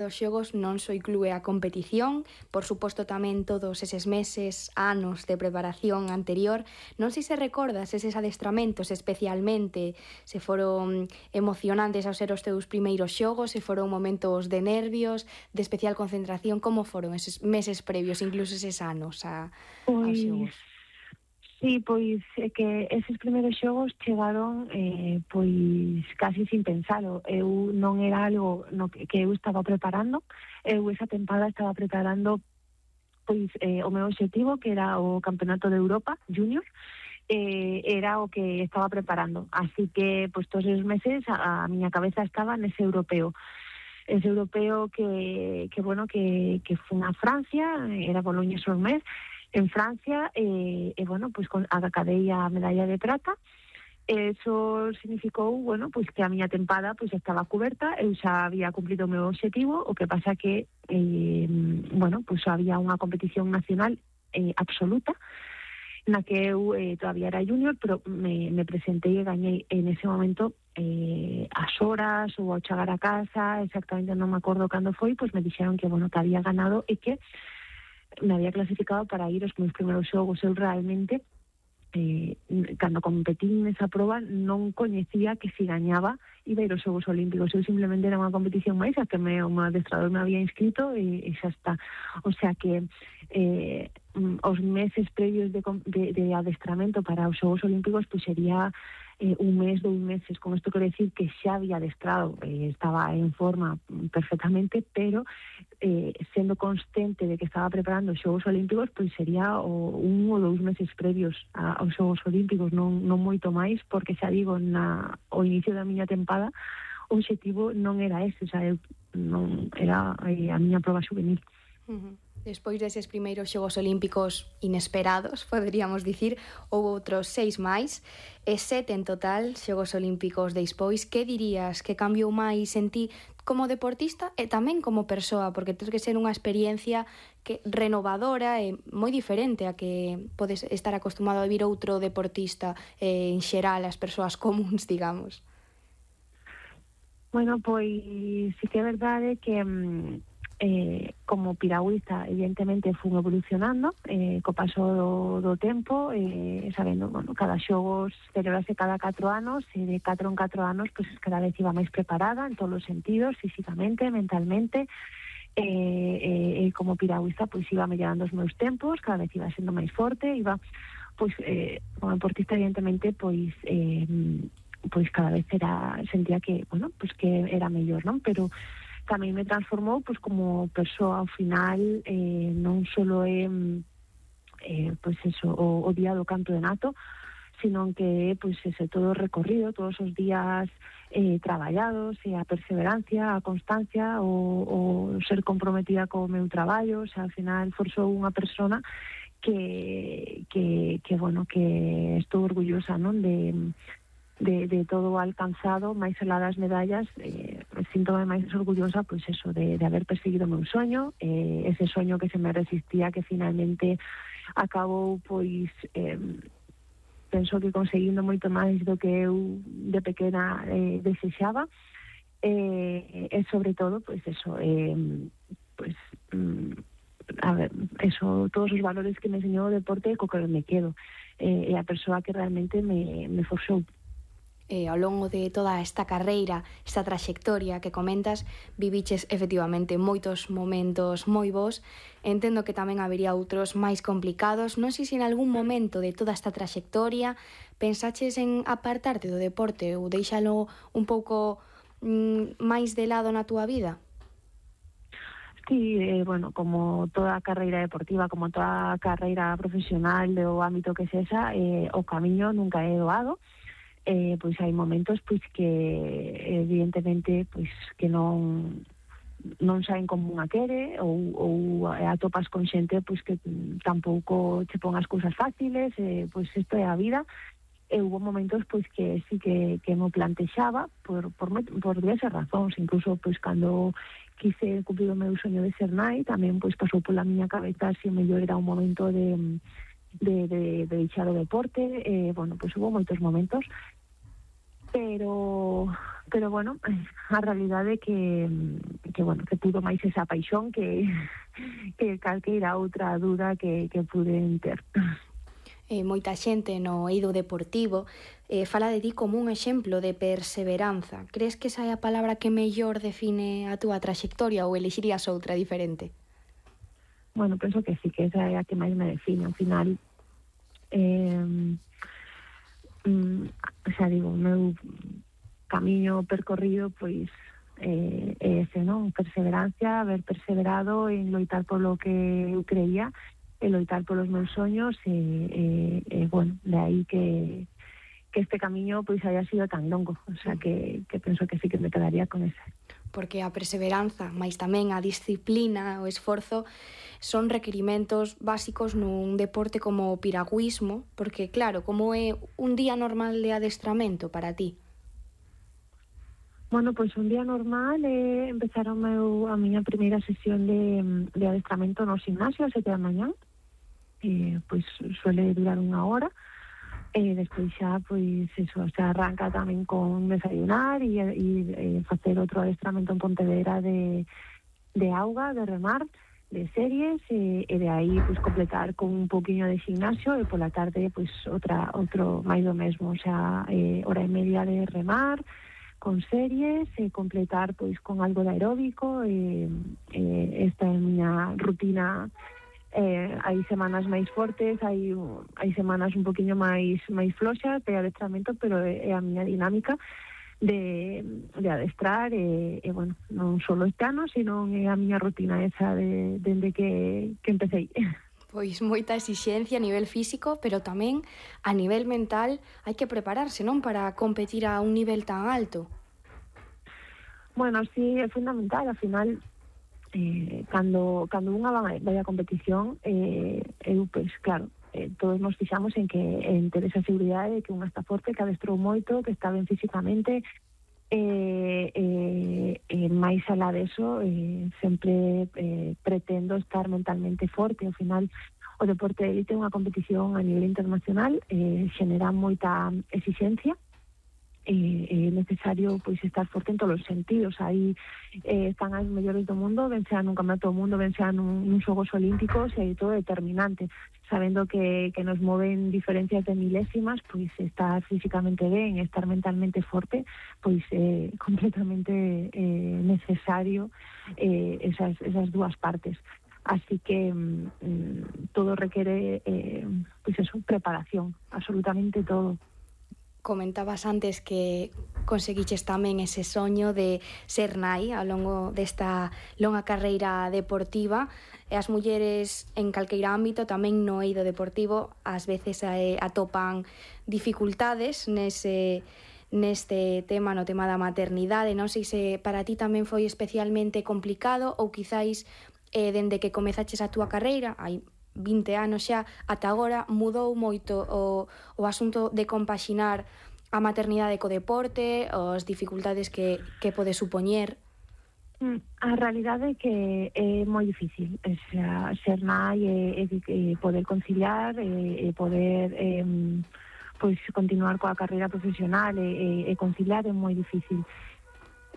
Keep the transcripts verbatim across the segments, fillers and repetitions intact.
dos xogos non só inclúe a competición, por suposto tamén todos eses meses, anos de preparación anterior. Non sei se recordas eses adestramentos especialmente, se foron emocionantes ao ser os teus primeiros xogos, se foron momentos de nervios, de especial concentración, como foron eses meses previos, incluso eses anos a, aos Pois, xogos? sí, pois é que eses primeiros xogos chegaron eh, pois casi sin pensalo. Eu non era algo no que, que eu estaba preparando. Eu esa tempada estaba preparando pois eh, o meu obxectivo, que era o Campeonato de Europa Junior, eh, era o que estaba preparando. Así que, pois todos os meses a, a miña cabeza estaba nese europeo. Ese europeo que, que bueno, que, que foi a Francia, era Bologne-sur-Mer, en Francia, e, eh, bueno, pois pues, acadei a medalla de prata. Eso significou, bueno, pois pues, que a miña tempada pois pues, estaba coberta, eu xa había cumplido o meu obxectivo, o que pasa que, eh, bueno, pois pues, había unha competición nacional eh, absoluta, na que eu eh, todavía era junior, pero me, me presentei e gañei en ese momento eh, as horas ou ao chegar a casa, exactamente non me acordo cando foi, pois pues me dixeron que, bueno, que había ganado e que me había clasificado para ir aos meus primeiros xogos. Eu realmente, eh, cando competín nesa proba, non coñecía que si gañaba iba a ir aos Xogos Olímpicos. Eu simplemente era unha competición máis a que me, o meu adestrador me había inscrito e, e xa está. O sea que eh, os meses previos de, de, de adestramento para os Xogos Olímpicos pues sería eh, un mes, dous meses. Con isto quero decir que xa había adestrado, eh, estaba en forma perfectamente, pero eh, sendo consciente de que estaba preparando os Xogos Olímpicos, pois sería o, un ou dous meses previos a, aos Xogos Olímpicos, non, non moito máis, porque xa digo, na, o inicio da miña tempada o obxectivo non era ese, xa eu non era eh, a miña proba juvenil. Uh-huh. Despois deses primeiros Xogos Olímpicos inesperados, poderíamos dicir, houve outros seis máis, e sete en total Xogos Olímpicos despois. Que dirías que cambiou máis en ti como deportista e tamén como persoa? Porque tens que ser unha experiencia que renovadora e moi diferente a que podes estar acostumado a vivir outro deportista, eh, en xeral, as persoas comuns, digamos. Bueno, pois sí que é verdade que eh, como piragüista evidentemente fun evolucionando eh, co paso do, do tempo, eh, sabendo, bueno, cada xogos celebrase cada catro anos e de catro en catro anos pues, cada vez iba máis preparada en todos os sentidos, físicamente, mentalmente, e eh, eh, eh, como piragüista pois iba mellorando os meus tempos, cada vez iba sendo máis forte, iba pois eh, como deportista evidentemente pois eh, pois cada vez era sentía que, bueno, pois que era mellor, non? Pero tamén me transformou pois como persoa ao final, eh, non solo é eh, pois eso, o, o día do canto de nato, sino que pois ese todo o recorrido, todos os días eh, traballados, e a perseverancia, a constancia, o, o ser comprometida co meu traballo. O sea, ao final forzou unha persona que, que, que bueno, que estou orgullosa, non, de De, de todo o alcanzado, máis alá das medallas, eh, síntome máis orgullosa, pois eso, de, de haber perseguido o meu soño, eh, ese soño que se me resistía, que finalmente acabou, pois, eh, penso que conseguindo moito máis do que eu de pequena eh, desexaba, eh, e sobre todo, pois eso, eh, pois, mm, a ver, eso, todos os valores que me enseñou o deporte, co que me quedo, eh, e a persoa que realmente me, me forzou. Eh, ao longo de toda esta carreira, esta traxectoria que comentas, viviches efectivamente moitos momentos moi bons. Entendo que tamén habería outros máis complicados. Non sei se en algún momento de toda esta traxectoria pensaches en apartarte do deporte ou deixalo un pouco mm, máis de lado na túa vida? Sí, eh, bueno, como toda carreira deportiva, como toda carreira profesional do ámbito que sexa, eh, o camiño nunca é doado. Eh, pois hai momentos pois que evidentemente pois que non non saen como unha quere, ou, ou atopas con xente pois que tampouco che pon as cousas fáciles, eh, pois isto é a vida. E hubo momentos pois que sí que, que me plantexaba por, por, por diversas razóns, incluso pois cando quise cumprir o meu soño de ser nai, tamén pois pasou pola miña cabeza se o mellor era un momento de de, de, de deixar o deporte. Eh, bueno, pois hubo moitos momentos, pero pero bueno, a realidade é que que bueno, que pudo máis esa paixón que que calqueira outra dúda que que puden ter. Eh, moita xente no eido deportivo eh, fala de ti como un exemplo de perseveranza. Crees que esa é a palabra que mellor define a túa traxectoria ou elixirías outra diferente? Bueno, penso que sí, que esa é a que máis me define. Ao final, eh, mm, xa digo, o meu camiño percorrido, pois, eh, é ese, non? Perseverancia, haber perseverado en loitar polo que eu creía, e loitar polos meus soños, e, e, e bueno, de aí que, que este camiño pois haya sido tan longo, o sea que, que penso que sí que me quedaría con ese. Porque a perseveranza, máis tamén a disciplina, o esforzo, son requerimentos básicos nun deporte como o piragüismo, porque claro, como é un día normal de adestramento para ti? Bueno, pois un día normal é eh, empezar o meu, a miña primeira sesión de, de adestramento no gimnasio a sete da mañá. Eh, pois suele durar unha hora, e despois xa, pois, eso, se arranca tamén con desayunar e, e, e facer outro adestramento en Pontevedra de, de auga, de remar, de series, e, e de aí, pois, completar con un poquinho de gimnasio, e pola tarde, pois, outra, outro máis do mesmo, o sea, eh, hora e media de remar, con series, e completar, pois, con algo de aeróbico, e, e esta é a miña rutina. Eh, hai semanas máis fortes, hai hai semanas un poquinho máis máis floxas de adestramento, pero é, é a miña dinámica de, de adestrar, e, e bueno, non só este ano, sino é a miña rutina esa de, dende que, que empecé. Pois moita exixencia a nivel físico, pero tamén a nivel mental hai que prepararse, non? Para competir a un nivel tan alto. Bueno, sí, é fundamental, ao final, Eh, cando, cando unha vai a competición, eh, eu, pois, claro, eh, todos nos fixamos en que en ter esa seguridade de que unha está forte, que adestrou moito, que está ben físicamente, e eh, eh, eh, máis alá deso, eh, sempre eh, pretendo estar mentalmente forte. Ao final, o deporte de élite é unha competición a nivel internacional, eh, xenera moita exixencia, é necesario, pois, estar forte en todos os sentidos. Aí eh, están as mellores do mundo, ben sea nun campeonato do mundo, ben sea nun, nun Xogos Olímpicos, e todo determinante, sabendo que, que nos moven diferencias de milésimas, pois estar físicamente ben, estar mentalmente forte, pois é eh, completamente eh, necesario eh, esas, esas dúas partes. Así que mm, todo requiere eh, pois eso, preparación, absolutamente todo. Comentabas antes que conseguiches tamén ese soño de ser nai ao longo desta longa carreira deportiva, e as mulleres en calqueira ámbito, tamén no eido deportivo, ás veces eh, atopan dificultades nese neste tema, no tema da maternidade. Non sei se para ti tamén foi especialmente complicado, ou quizáis eh, dende que comezaches a túa carreira, hai vinte anos xa, ata agora mudou moito o, o asunto de compaxinar a maternidade co deporte, as dificultades que, que pode supoñer? A realidade é que é moi difícil, o sea, ser nai e, e poder conciliar, e, e poder eh, pois continuar coa carreira profesional, e, e conciliar é moi difícil.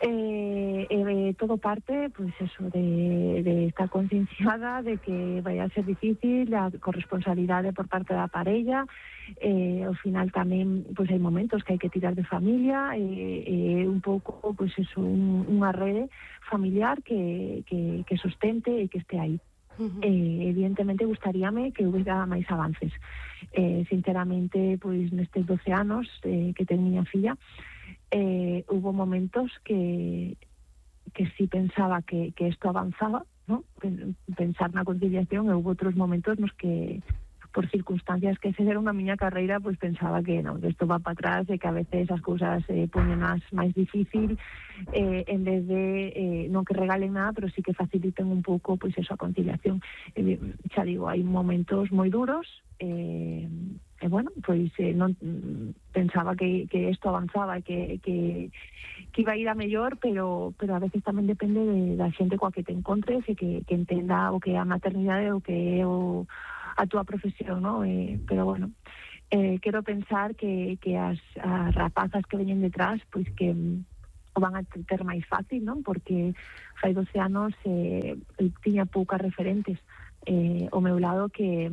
Eh, eh, todo parte, pois eso, de, de estar concienciada de que vai a ser difícil, a corresponsabilidade por parte da parella, eh, ao final tamén, pois hai momentos que hai que tirar de familia, e eh, eh, un pouco, pois eso, un, unha rede familiar que, que, que sustente e que este aí. Uh-huh. Eh, evidentemente gustaríame que houbera máis avances. Eh, sinceramente, pois nestes doce anos eh, que ten miña filla, Eh, hubo momentos que que sí pensaba que, que esto avanzaba, ¿no? Pensar na conciliación, e hubo outros momentos nos que, por circunstancias que se deron a miña carreira, pues pensaba que non, que isto va para atrás, e que a veces as cousas eh, poñen máis máis difícil, eh, en vez de eh, non que regalen nada, pero sí que faciliten un pouco, pois, pues, eso, a conciliación. Eh, xa digo, hai momentos moi duros, eh, e bueno, pois eh, non pensaba que, que isto avanzaba e que, que, que iba a ir a mellor, pero pero a veces tamén depende de, da xente coa que te encontres, e que, que entenda o que é a maternidade, o que é o, a túa profesión, ¿no? Eh, pero bueno, eh, quero pensar que, que as, as rapazas que veñen detrás pois que mm, o van a ter máis fácil, non? Porque fai doce anos eh, tiña poucas referentes eh, ao meu lado que,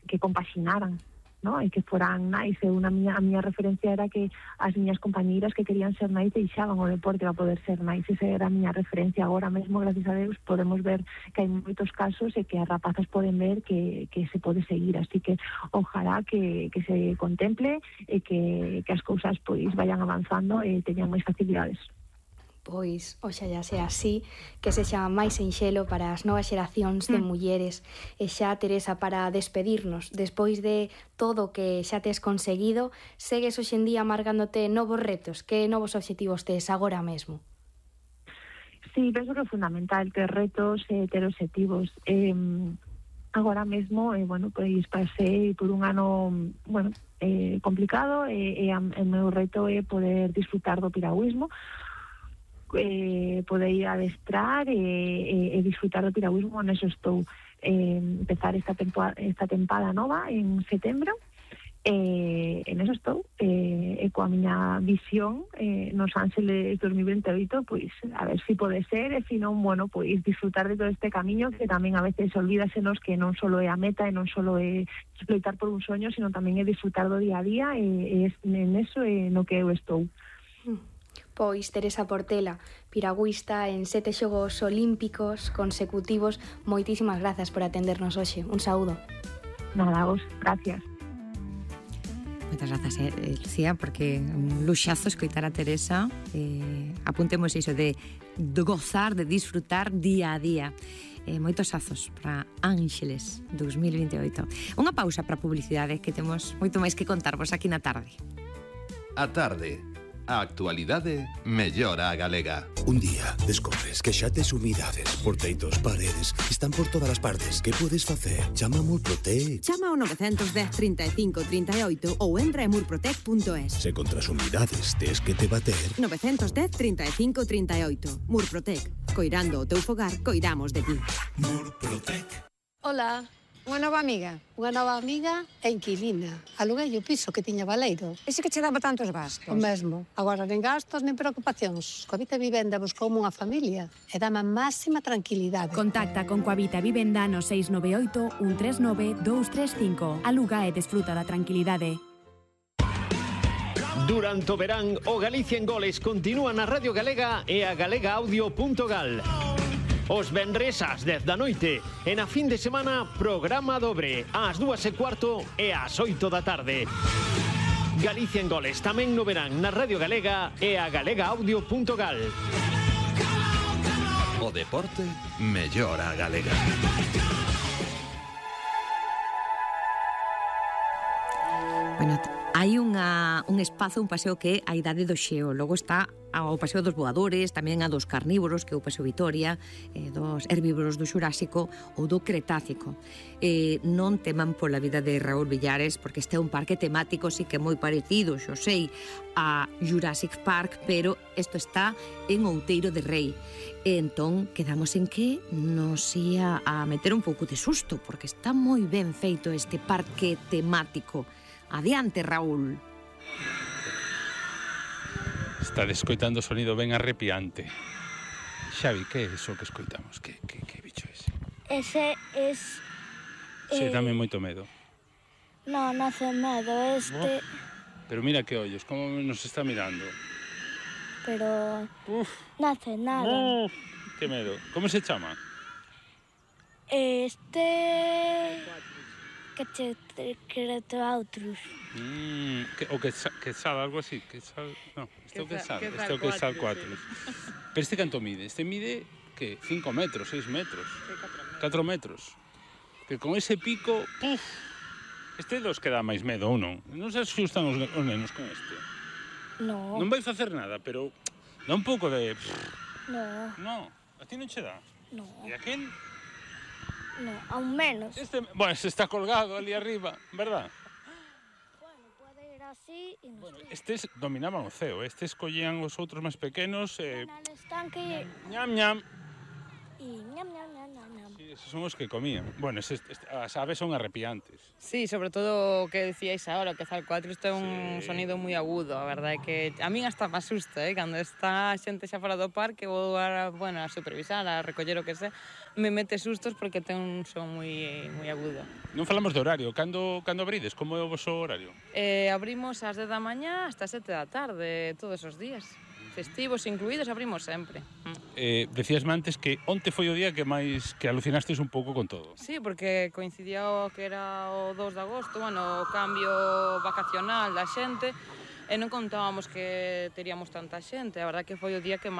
que compaxinaran, non? E que foran nais. E unha miña, a miña referencia era que as miñas compañeiras que querían ser nais deixaban o deporte para poder ser nais. Esa era a miña referencia. Agora mesmo, gracias a Deus, podemos ver que hai moitos casos e que as rapazas poden ver que, que se pode seguir. Así que ojalá que, que se contemple e que, que as cousas pois vayan avanzando e teñan máis facilidades. Pois, oxalla sea así, que sexa máis sinxelo para as novas xeracións de Mm. mulleres. E xa, Teresa, para despedirnos, despois de todo o que xa tes conseguido, segues hoxendía marcándote novos retos? Que novos obxectivos tes agora mesmo? Sí, penso que é fundamental ter retos e ter obxectivos. Eh, agora mesmo, eh, bueno, pois pasei por un ano, bueno, eh, complicado e, e a, o meu reto é poder disfrutar do piragüismo, eh, poder ir a adestrar e, e, e disfrutar do piragüismo. Neso estou eh, empezar esta temporada, esta tempada nova en setembro. Eh, en eso estou eh, e coa miña visión eh, nos Ángeles dos mil vinte e oito, pois a ver se si pode ser, e se non, bueno, pois disfrutar de todo este camiño, que tamén a veces olvídasenos que non só é a meta e non só é loitar por un soño, sino tamén é disfrutar do día a día, e, e en eso é no que eu estou. Pois Teresa Portela, piragüista en sete Xogos Olímpicos consecutivos, moitísimas grazas por atendernos hoxe. Un saúdo. Nada, vos, gracias. Moitas grazas, eh, Lucía, porque un luxazo escoitar a Teresa. Eh, apuntemos iso de, de gozar, de disfrutar día a día. Eh, moitos azos para Ángeles dos mil vinte e oito. Unha pausa para a publicidade, que temos moito máis que contarvos aquí na tarde. A tarde. A actualidade mellora a galega. Un día descobres que xa tes humidades, porteitos, paredes, están por todas as partes. Que podes facer? Chama a Murprotec. Chama ao nove un cero, trinta e cinco, trinta e oito ou entra en murprotec punto es. Se contra as humidades tes que te bater. nove un cero, trinta e cinco, trinta e oito. Murprotec. Coirando o teu fogar, coiramos de ti. Murprotec. Ola, unha nova amiga. Unha nova amiga e inquilina. Aluguei o piso que tiña Baleiro. Ese que che daba tantos gastos? O mesmo. Agora nen gastos nen preocupacións. Coavita Vivenda buscoume unha familia e dame a máxima tranquilidade. Contacta con Coavita Vivenda no seis nove oito, un tres nove, dous tres cinco. Aluga e desfruta da tranquilidade. Durante o verán, o Galicia en Goles continúa na Radio Galega e a galega audio punto gal. Os venres ás dez da noite e na fin de semana programa dobre ás dúas e cuarto e ás oito da tarde. Galicia en Goles tamén no verán na Radio Galega e a galega audio punto gal. O deporte mellora a galega. Bueno, hai unha, un espazo, un paseo que é a idade do xeo. Logo está o paseo dos voadores, tamén a dos carnívoros, que é o paseo Vitoria, eh, dos herbívoros do Xurásico ou do Cretácico. Eh, non teman pola vida de Raúl Villares, porque este é un parque temático, sí que é moi parecido, xo sei, a Jurassic Park, pero isto está en Outeiro de Rei. E entón, quedamos en que nos ia a meter un pouco de susto, porque está moi ben feito este parque temático. Adiante, Raúl. Está escoitando o sonido ben arrepiante. Xavi, que é iso que escoitamos? Que, que, que bicho é ese? Ese es... Se eh, dame moito medo. No, no hace medo, este... Oh, pero mira que ollos, como nos está mirando. Pero... Uf. No hace nada. Oh, que medo. Como se chama? Este... Que che Quetzalcoatlus. Mm, que, o que, que sal, algo así. Que sal, no, este é o que sal. Este é o que sal cuatro. Pero este canto mide? Este mide, que? cinco metros, seis metros. catro metros. Que con ese pico, puf, este dos que dá máis medo ou non? Non se asustan os, os nenos con este. No. Non vai facer nada, pero dá un pouco de... No. No, a ti non che dá? No. E a quen? No, aún menos. Este, bueno, este está colgado ali arriba, verdad? Bueno, pode ir así e bueno, estes dominaban o ceo, estes collían os outros máis pequenos e... Eh... Están que... Ñam, ñam. e ñam, ñam, ñam, ñam, ñam. Sí, esos son os que comían. Bueno, eses, est- as aves son arrepiantes. Sí, sobre todo o que decíais agora, o quezal cuatro, isto é un Sí. sonido moi agudo, a verdade é que a min hasta me asusta, eh? Cando está a xente xa fora do parque, vou a, bueno, a supervisar, a recoller o que sé, me mete sustos porque ten un son moi moi agudo. Non falamos de horario. Cando, cando abrides? Como é o vosso horario? Eh, abrimos ás dez da mañá hasta as sete da tarde, todos os días. Festivos incluídos, abrimos sempre. Mm. Eh, decíasme antes que onte foi o día que máis que alucinastes un pouco con todo. Sí, porque coincidía o que era o dos de agosto, bueno, o cambio vacacional da xente, e non contábamos que teríamos tanta xente. A verdad que foi o día que máis